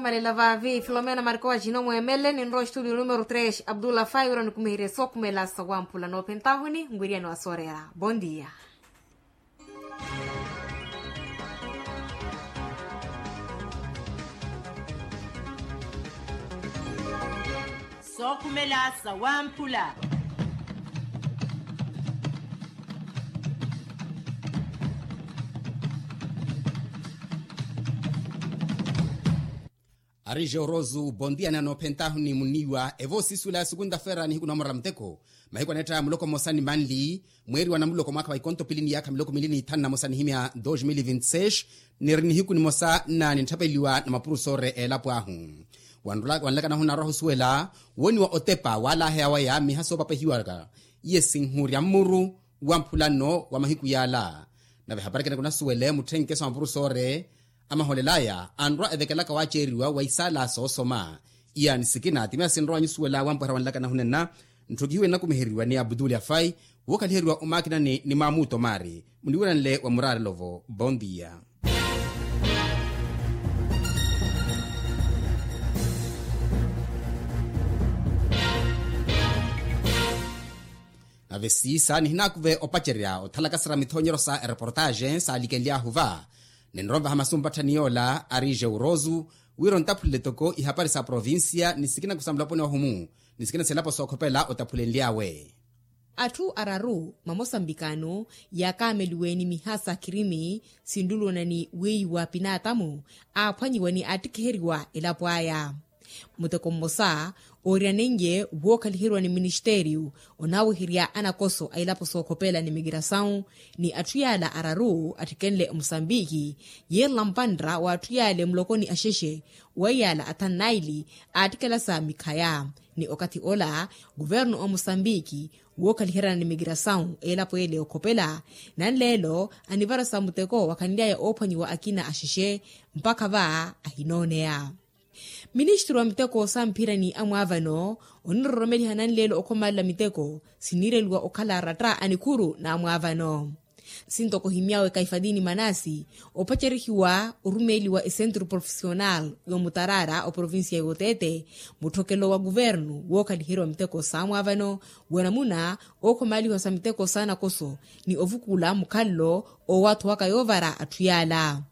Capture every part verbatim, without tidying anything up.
Malela vaavi filomena marco wa jino mwemele ninrowa ostudio numero tres abdullah fai wira onikumiherye sookhumela sa wamphula noophentahuni nwiriyani wa soorera. Bondia. Sookhumela sa wamphula. Ari jeorosu bondia ni anoophentahuni muniiwa evo siisuwela ya sukunta-feera nihiku na omorela muteko. Mahiku aneetta muloko mmosa ni manli mweeriwa na muloko mwaakha wa ikonto pili ni yaakha miloko miili ni ithanu na mosa nihimya dos mil vinti seis. Niri nihiku nimosa nnaani ntthapeliwa na mapurusoore eelapo ahu. Wanlaka nahu naarwaha osuwela wooniwa otepa waalaheya waya miha soopapehiwaka iye sinhurya mmuru wa mphula nno wa mahiku yaala. Nave hapari kene kunasuwele mutthenkeso a mapurusoore amahoolelaya anrwa evekelaka waaceeriwa wa isaala soosoma. Iyaani sikina ti miya sinrowa nyusuwela wampweha wanlaka nahunenna. Ntthokihiwe nnakumiheriwa ni abutuli afai wookhaliheriwa omaakinani ni maamuto maari muniwiranle wa muraarelo-vo. Bondia. Nave siisa nihinaakuve opacerya othalakasera mithoonyeryo sa ereportaaxe saalikenlyaahu va. Ninromvaha masu mpatthani yoola ari jeurosu wira ontaphulele toko ihapari sa provincia ni sikina kusa mulaponi wahumu ni sikina selapo sookhopela otaphulenly'awe. Atthu araru mamosambikano yaakaameliwe ni miha sa khirimi sinlulwana ni wiiwa pinaatamu aaphwanyiwa ni aattikiheriwa elapo aya. Muteko mmosa ooriyanenye wookhaliheriwa ni ministeriyu onaaweherya anakoso a ilapo sookhopela ni mikirasawu ni atthu yaala araru atthikenle omusambiki yiirela mpantta wa atthu yaale mulokoni axexe weiyaala athanu naili aattikelasa mikhaya. Ni okathi ola kuvernu omusambiki wookhaliheryana ni mikirasawu elapo ele okhopela nanleelo anivarasa muteko wakhanly'aya oophwanyiwa akina axexe mpakha va ahinooneya. Ministru wa miteko samphirani amwaavano oniroromeliha nanleelo okhomalela miteko siniireliwa okhala aratta a nikhuru n'amwaavano. Sintoko ohimy'awe kaifadini manasi opacerihiwa orumeeli wa esentru profesional y'omutaraara oprovincia y'oteete mutthokelo wa kuvernu wookhaliheriwa miteko s'amwaavano wa namuna ookhomaalihiwa sa miteko s'anakoso ni ovukula mukhalelo oowaathuwaka yoovara atthu yaala.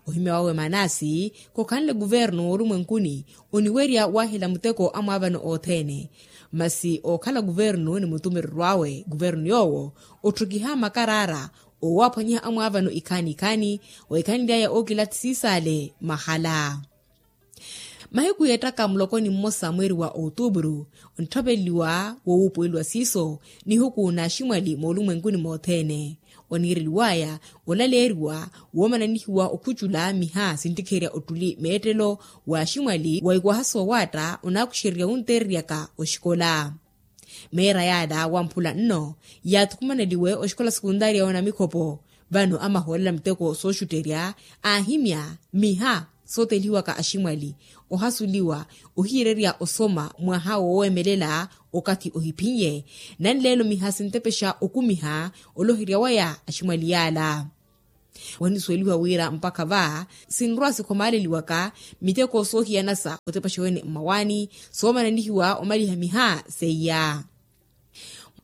Ohimya wawe manasi khokhanle kuvernu w'orumwenkuni oniwerya waahela muteko amwaavano othene. Masi ookhala kuvernu ni mutumireryo awe kuvernu yoowo otthukiha makaraara oowaaphwanyiha amwaavano ikhaani ikhaani wa ikhanly'aya ookilathi siisaale mahala. Mahiku yeettaka mulokoni mmosa mweeri wa outupuru ontthapeliwa wowuupuweliwa siiso nihuku n'aximwali moolumwenkuni mothene. Oniireliw'aya olaleeriwa woomananihiwa okhucula miha sinttikherya ottuli meettelo w'aximwali wa ikwaha soowaatta onaakuxererya wunteereryaka oxikola. Meera yaala wamphula nno yaathukumaneliwe oxikola sekuntaariya wa namikhopo. Vano amahoolela miteko sooxutterya aahimya miha sootelihiwaka aximwali ohasuliwa ohiirerya osoma mwaha woowemelela okathi ohiphin'ye. Nanleelo miha sintepexa okumiha oloherya waya aximwali yaala. Wanisuwelihiwa wira mpakha va sinrwa sikhomaaleliwaka miteko soohiyanasa otepaxa wene mmawaani soomananihiwa omaliha miha seiya.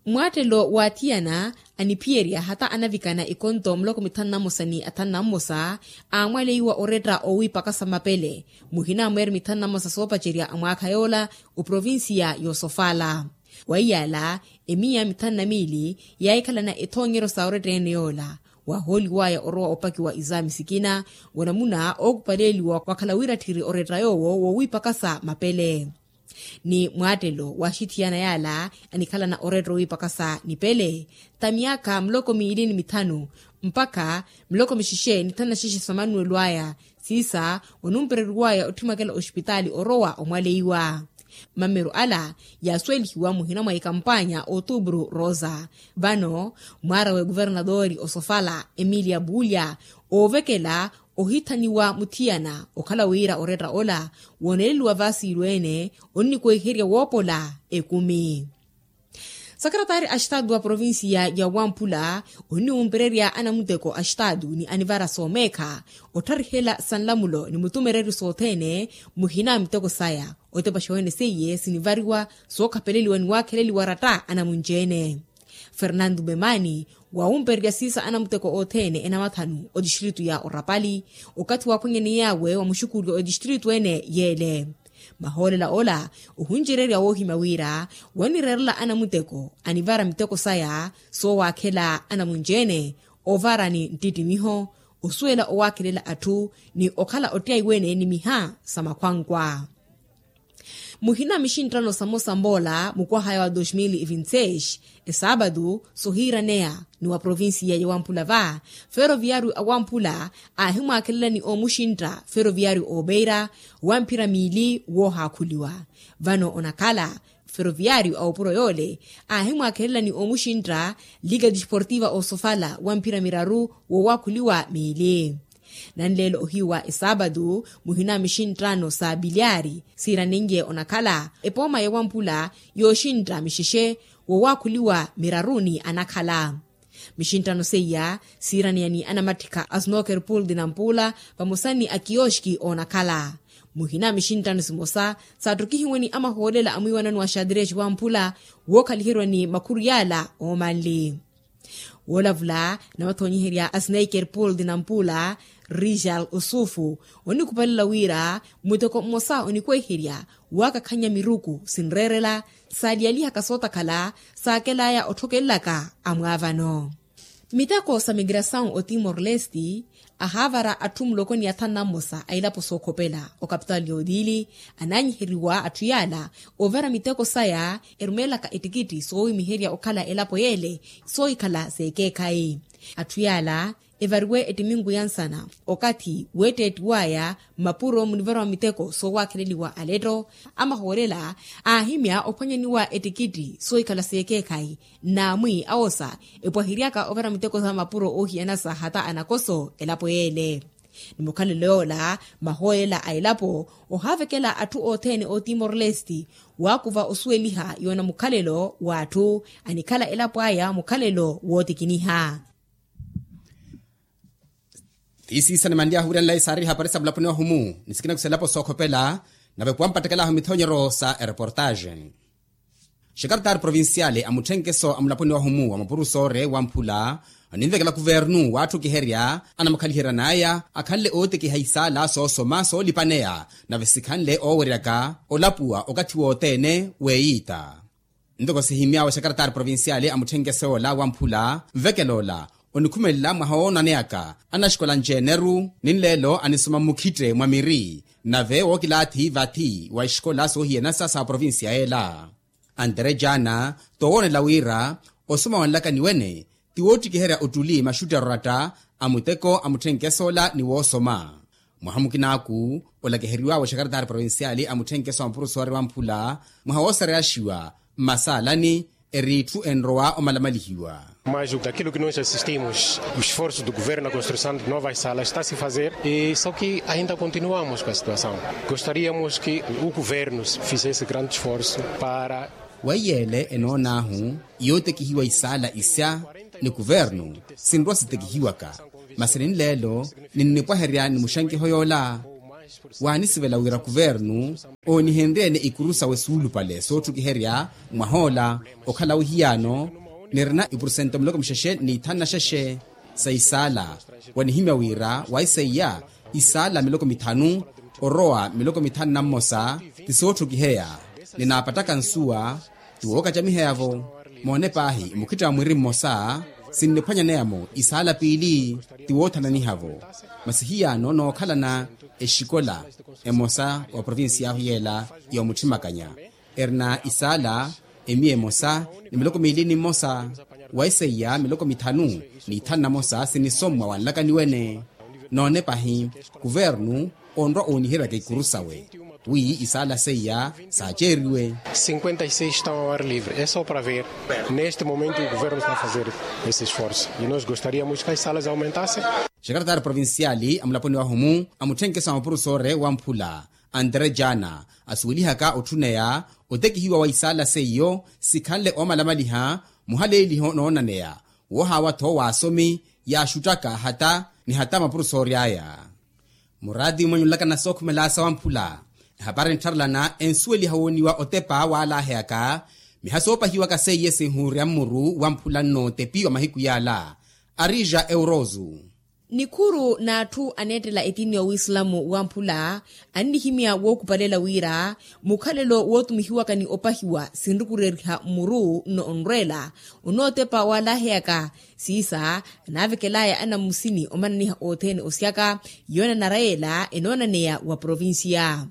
Mwaattelo w'athiyana aniphiyerya hata anavikana ikonto muloko mithanu na mmosa ni athanu na mmosa aamwaleiwa oretta owiipakasa mapele. Muhina mweeri mithanu na mmosa soopacerya a mwaakha yoola oprovincia y'osofala. Waiyaala emiya mithanu na miili yaahikhalana ethoonyeryo sa oretta ene yoola waahooliw'aya orowa opakiwa isaami sikina wa namuna ookupaleeliwa wakhala wira tthiri oretta yoowo wowiipakasa mapele. Ni mwaattelo w'axithiyana yaala anikhalana oretta owiipakasa nipele ta myaakha muloko miili ni mithanu mpakha miloko mixexe ni thanu na xexe sa manuwelo aya. Siisa onumpereriwaya otthimakela oxipitaali orowa omwaleiwa. Mameru ala yaasuwelihiwa muhina mwa ikampaanya otuupuru rosa. Vano mwaara w'ekuvernatori osofala emilia puulya oovekela ohithaniwa muthiyana okhala wira oretta ola wooneleliwa vaasiilu ene onnikwehiherya woopola ekumi. Sakaratari a estadu wa provincia ya wamphula onniwumpererya anamuteko a estadu ni anivara soomeekha ottharihela sa nlamulo ni mutumereryo sothene. Muhina miteko saya otepaxa wene seiye sinivariwa sookhapeleliwa ni waakheleliwa ratta anamunci-ene. Fernando memani wawumpererya siisa anamuteko othene enamathanu otistritu ya orapali okathi waaphwanyani yawe wa muxukuuli otistritu ene yeele. Mahoolela ola ohuncirerya woohimya wira wanireerela anamuteko anivara miteko saya soowaakhela anamunci-ene ovarani ntittimiho osuwela owaakhelela atthu ni okhala ottyayi wene ni miha sa makhwankwa. Muhina mixinttano samosa mboola mukwahaya wa dos mil e vinti seis esaapatu sohiiraneya ni wa provincia ya wamphula va feroviyario a wamphula aahimwaakhelela ni oomuxintta feroviyario oopeira wa mphira miili woohaakhuliwa. Vano onakhala feroviyario a opuro yoole aahimwaakhelela ni oomuxintta liga disportiva osofala wa mphira miraru wowaakhuliwa miili. Nanleelo ohiyu wa esaapatu muhina mixinttano sa pilyaari siiranenye onakhala epooma ya wamphula yooxintta mixexe wowaakhuliwa miraruni anakhala. Mixinttano seiya siiraneya ni anamatthikha a snoker pool di nampuula vamosa ni akiyoxki oonakhala. Muhina mixinttano simosa saattukihiwe ni amahoolela a mwiiwanano wa xadresi wamphula wookhaliheriwa ni makhuru yaala oomanli. Woolavula namathoonyiherya a sneiker pool di nampuula rijal osufu onikhupalela wira muteko mmosa onikweherya waakakhannya miruku sinreerela saaliyalihaka sootakhala saakelaya otthokelelaka amwaavano. Miteko sa migrasawu o timor-leste ahaavara atthu muloko ni athanu na mmosa a ilapo sookhopela okapitaali y'otili anaanyiheriwa atthu yaala oovera miteko saya erumeelaka ettikitti soowimiherya okhala elapo yeele soohikhala s'ekeekhayi. Atthu yaala evariwe ettiminku ya nsana okathi weetteettiw'aya mmapuro munivariwa miteko soowaakheleliwa aletto amahoolela aahimya ophwanyaniwa ettikitti soohikhala s'ekeekhayi nnaamwi awosa epwahiryaka overa miteko sa mapuro oohiyana sa hata anakoso elapo yeele. Ni mukhalelo yoola mahoolela a elapo ohaavekela atthu othene o timor-leste waakuva osuweliha yoona mukhalelo w'atthu anikhala elapo aya mukhalelo wootikiniha. Tiisiisa nimanly'ahu wiiranlayi saari hapari sa mulaponi wahumu ni sikina kusa elapo sookhopela nave kuwampattekel'ahu mithoonyeryo sa ereportaxe. Xekaretari provinciale a mutthenkeso a mulaponi wahumu wa mapurusoore wamphula aninvekela kuvernu waattukiherya anamukhaliheryan'aya akhanle ootekiha isaala soosoma soolipaneya nave sikhanle ooweryaka olapuwa okathi wothene weeyiita. Ntoko sihimy'awe xekaretari provinciale a mutthenkeso yoola wamphula nvekela ola onikhumelela mwaha woonaneyaka anaxikola nci-eneru ni nleelo anisoma mmukhitte mwa miri nave wookilaathi vathi wa ixikola soohiyanasa sa provincia yeela. Antere jaana toowoonela wira osoma wanlaka ni wene ti woottikiherya ottuli maxutti aroratta a muteko a mutthenkeso ola ni woosoma. Mwaha mukinaaku olakiheriw'awe xekaretari provinciale a mutthenkeso a mapurusoore wamphula mwaha woosareyaxiwa mmasaalani eri itthu enrowa omalamalihiwa. Mas daquilo que nós assistimos o esforço do governo na construção de novas salas está se fazer e só que ainda continuamos com a situação. Gostaríamos que o governo fizesse grande esforço para weiyeele enoon'ahu yootekihiwa isaala isya ni kuvernu sinrowa sitekihiwaka masi ninleelo ninnipwaherya ni muxankiho yoola. Waanisivela wira kuvernu oonihenrye-ene ikuru sawe suulupale sootthukiherya mwah'ola okhala wihiyaano nirina ipurusento miloko mixexe n'ithanu na xexe sa isaala. Wanihimya wira waiseiya isaala miloko mithanu orowa miloko mithanu na mmosa ti sootthukiheya ninaapattaka nsuwa ti wookacamiheya-vo. Moone paahi mukhitta wa mwiri mmosa sinniphwanyaneya-mo isaala piili ti woothananiha-vo. Masi hiyaano nookhalana exikola emosa wa provincia ahu yeela yoomuthimakanya erina isaala emiya emosa ni miloko miili ni mmosa waiseiya miloko mithanu n'ithanu na mosa sinisommwa wanlaka ni wene. Noone pahi kuvernu onrwa ooniheryaka ikuru sawe wi isaala seiya saaceeriwe. Cinquenta e seis estão ao ar livre é só para ver. Neste momento o governo está a fazer esse esforço e nós gostaríamos que as salas aumentassem. Xekaretari provinciali a mulaponi wahumu a mutthenkeso a mapurusoore wamphula Andre jana asuwelihaka otthuneya otekihiwa wa isaala seiyo sikhanle oomalamaliha muhaleeliho noonaneya woohaawa-tho w'asomi yaaxuttaka hata ni hata mapurusoori aya. Muraati mwanyunlaka na sookhumela sawamphula ehapari enttharelana ensuweliha wooniwa otepa waalaheyaka miha soopahiwaka seiye sinhuurya mmuru wamphula nnootepiwa mahiku yaala. Arija eurozu. Nikhuru n'atthu aneettela etiini y'owisilamu wamphula annihimya wookupalela wira mukhalelo wootumihiwaka ni opahiwa sinrukureriha mmuru nno onrweela onootepa waalaheyaka siisa anaavekelaya anammusini omananiha othene osyaka yoonanara yeela enoonaneya wa provincia.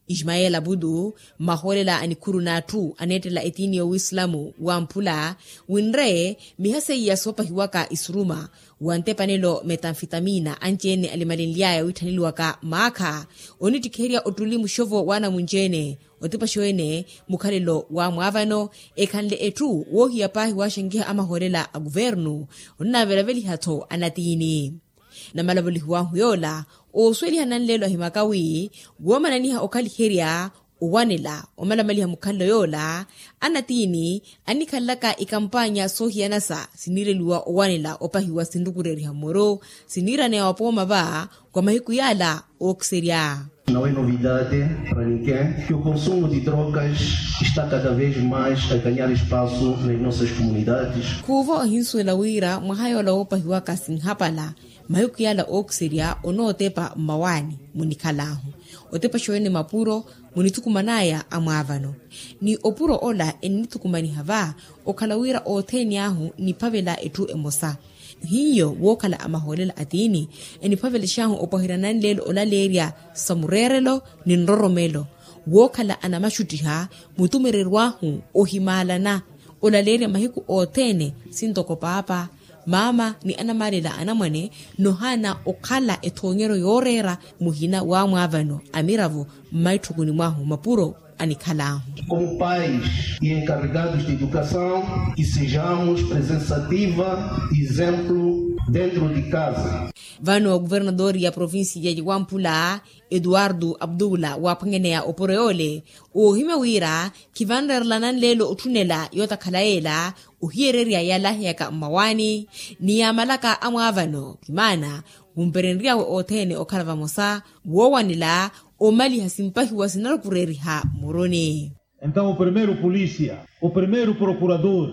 Ismael abudu, mmahoolela a nikhuru n'atthu aneettela etiini y'owisilamu wamphula winre miha seiya soopahiwaka isuruma wa ntepanelo metanfitamina anci-ene alimalenly'aya wiitthaneliwaka maakha onittikherya ottuli muxovo w'anamunci-ene otipaxo-ene mukhalelo w'amwaavano ekhanle etthu woohiya paahi waaxankiha amahoolela a kuvernu onnaavelaveliha-tho anatiini. Namalavolihiw'ahu yoola oosuweliha nanleelo ahimaka wi woomananiha okhaliherya owanela omalamaliha mukhalelo yoola anatiini anikhalelaka ikampaanya soohiyanasa siniireliwa owanela opahiwa sinrukureriha mmuru siniiraneya wapooma va kwa mahiku yaala ookiserya. Não é novidade para ninguém que o consumo de drogas está cada vez mais a ganhar espaço nas nossas comunidades. Khuuvo ohinsuwela wira mwaha yoola woopahiwaka sinhapala mahiku yaala ookiserya onootepa mmawaani munikhal'ahu otepa xooene mapuro munithukuman'aya amwaavano ni opuro ola ennithukumaniha va okhala wira othene ahu niphavela etthu emosa hiyo wookhala amahoolela atiini eniphavelex'ahu opwaherya nanleelo olaleerya sa mureerelo ni nroromelo wookhala anamaxuttiha mutumererw'ahu ohimaalana olaleerya mahiku othene sintoko paapa maama ni anamaalela anamwane nohaana okhala ethoonyeryo yooreera muhina w'amwaavano amiravo mmaitthokoni mwahu mapuro anikhal'ahu. Como pais e encarregados de educação que sejamos presença ativa e exemplo dentro de casa. Vano kuvernadori ya provincia ya wamphula eduardo abdula waaphwanyaneya opuro yoole oohimya wira khivanreerela nanleelo otthunela yootakhala yeela ohiyererya yaalaheyaka mmawaani ni yaamalaka amwaavano kimaana wumperenry'awe othene okhala vamosa woowanela omaliha simpahiwa sinarukureeriha mmuruni. Entaw o primeiro polícia, o primeiro procurador,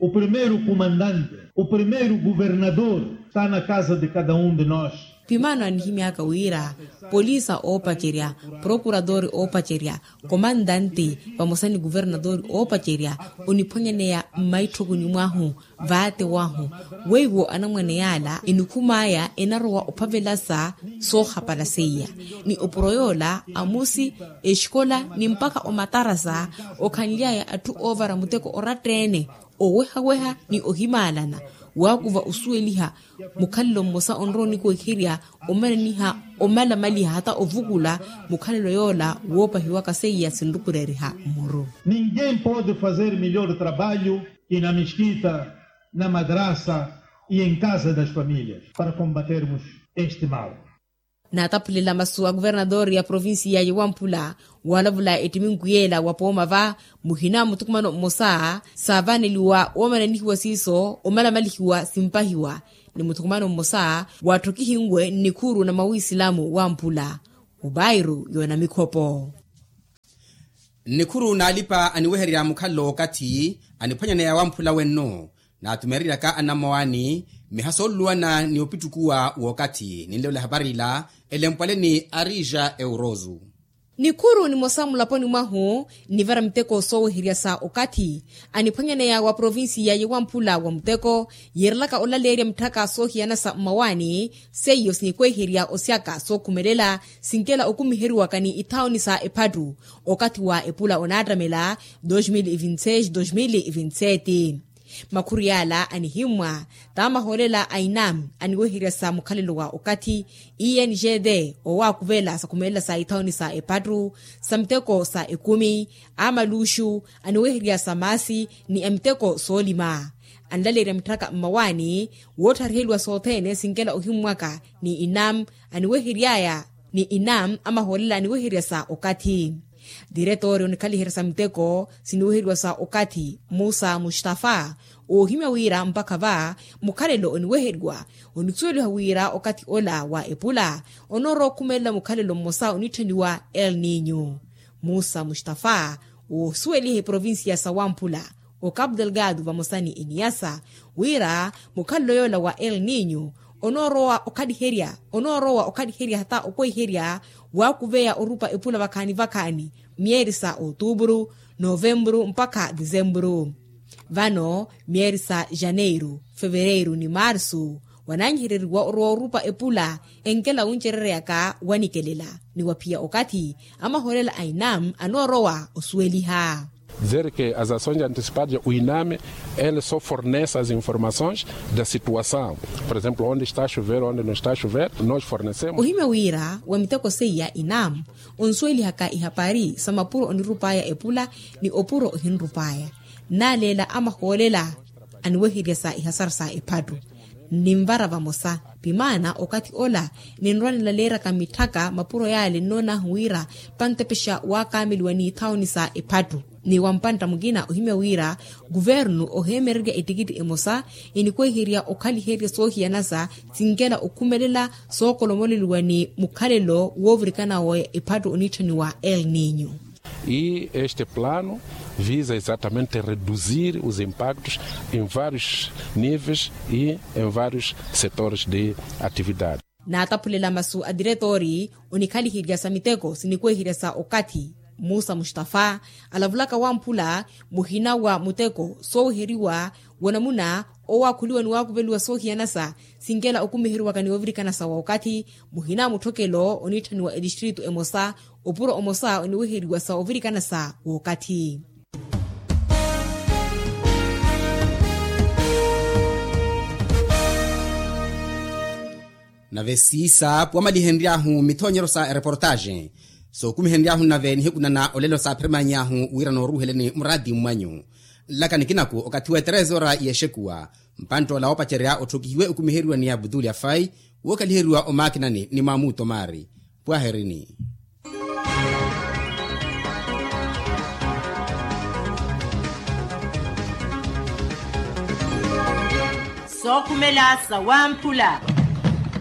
o primeiro comandante, o primeiro governador está na casa de cada um de nós. Pimaano anihimy'aka wira polisa oopacerya, prokuradori oopacerya, komantanti vamosa ni kuvernadori oopacerya oniphwanyaneya mmaitthokoni mwahu vaate wahu weiwo anamwane yaala enikhum'aya enarowa ophavelasa soohapala seiya ni opuro yoola amusi exikola ni mpakha omatarasa okhanly'aya atthu oovara muteko oratta-ene owehaweha ni ohimaalana waakuva osuweliha mukhalelo mmosa onrowa onikweherya omananiha omalamaliha hata ovukula mukhalelo yoola woopahiwaka seiya sinrukureeriha mmuru. Ninguém pode fazer melhor trabalho que na mesquita, na madrasa e em casa das famílias para combatermos este mal. Naataphulela masu a kuvernadori ya provincia ya wamphula waalavula ettiminku yeela wa pooma va muhina muthukumano mmosa saavaneliwa woomananihiwa siiso omalamalihiwa simpahiwa ni muthukumano mmosa waattokihinwe nnikhuru na mawisilamu wamphula mubairu yoona mikhopo. Nnikhuru n'alipa aniwehererya mukhalelo w'okathi aniphwanyaneya wamphula wenno naatumereryaka anammawaani mmiha sooluluwana ni opittukuwa w'okathi ninleela ehapari ila elempwale ni arija eurozu. Nikhuru nimosa mulaponi mwahu nnivara miteko sooweherya sa okathi aniphwanyaneya wa provincia yewamphula wa muteko yiirelaka olaleerya mitthaka soohiyana sa mmawaani seiyo sinikweherya osyaka sookhumelela sinkela okumiheriwaka ni ithaoni sa ephattu okathi wa epula onaattamela dos mil e vinte seis dos mil e vinte sete. Makhuru yaala anihimmwa t'amahoolela a inam aniweherya sa mukhalelo wa okathi ingd owaakuvela sa khumelela sa ithaoni sa epattu sa miteko sa ekumi amaluxu aniweherya sa maasi ni amiteko soolima anlaleerya mitthaka mmawaani woothariheliwa sothene sinkela ohimmwaka ni inam aniwehery'aya ni inam amahoolela aniweherya sa okathi. Diretoori onikhaliherya sa miteko siniweheryiwa sa okathi musa mustafa, oohimya wira mpakha va mukhalelo oniweheryiwa, onisuweliha wira okathi ola wa epula onoorowa okhumelela mukhalelo mmosa onitthaniwa el ninyo. Musa mustafa oosuweliha eprovincia sa wamphula, ocapu delgado vamosa ni eniasa, wira mukhalelo yoola wa el ninyo onoorowa okhaliherya onoorowa okhaliherya hata okweherya waakuveya orupa epula vakhaani vakhaani myeeri sa otupuru, novempuru mpakha disempuru. Vano myeeri sa janeiru, fevereiru ni marsu wananyihereriwa orowa orupa epula enkela wuncereryaka wanikelela ni waphiya okathi amahoolela a inam anoorowa osuweliha. Dizer ke as ações antecipadas o iname ele só fornece as informações da situação, por exemplo onde está a chover onde não está a chover nós fornecemos. Ohimya wira wa miteko seiya inam onsuwelihaka ihapari sa mapuro onirupaya epula ni opuro ohinrupaya, naleela amahoolela aniweherya sa ihasara sa ephattu. Ninvara vamosa pimaana okathi ola ninrwa nilaleeraka mitthaka mapuro yaale nnoon'ahu wira pantepexa waakameliwa n'ithawuni sa ephattu. Ni wampantta mukina ohimya wira kuvernu oheemererya ettikitti emosa enikweherya okhaliherya soohiyanasa sinkela okhumelela sookolomoleliwa ni mukhalelo woovirikana wa ephattu onitthaniwa el ninyo. E este plano visa exatamente reduzir os impactos em vários níveis e em vários setores de atividade. Naataphulela masu a diretoori onikhaliherya sa miteko sinikweherya sa okathi musa mustafa alavulaka wamphula muhina wa muteko sooweheriwa wanamuna owaakhuliwa ni waakuveliwa soohiyanasa sinkela okumiheriwaka ni ovirikanasa wa okathi muhina mutthokelo onitthaniwa etistritu emosa opuro omosa oniweheriwa sa ovirikanasa w'okathi. Nave siisa puwamalihenry'ahu mithoonyeryo sa ereportaaxi sookumihenry'ahu nave nihiku nana olelo saaphirimany'ahu wira nooruuheleni muraati mmanyu. Nlaka nikinaku okathi w'eterezora y'exekuwa mpantt'ola woopacerya otthokihiwe okumiheriwa ni abutuli afai wookaliheriwa omaakinani ni maamuto maari. Pwaherini. Sookhumela sa wamphula.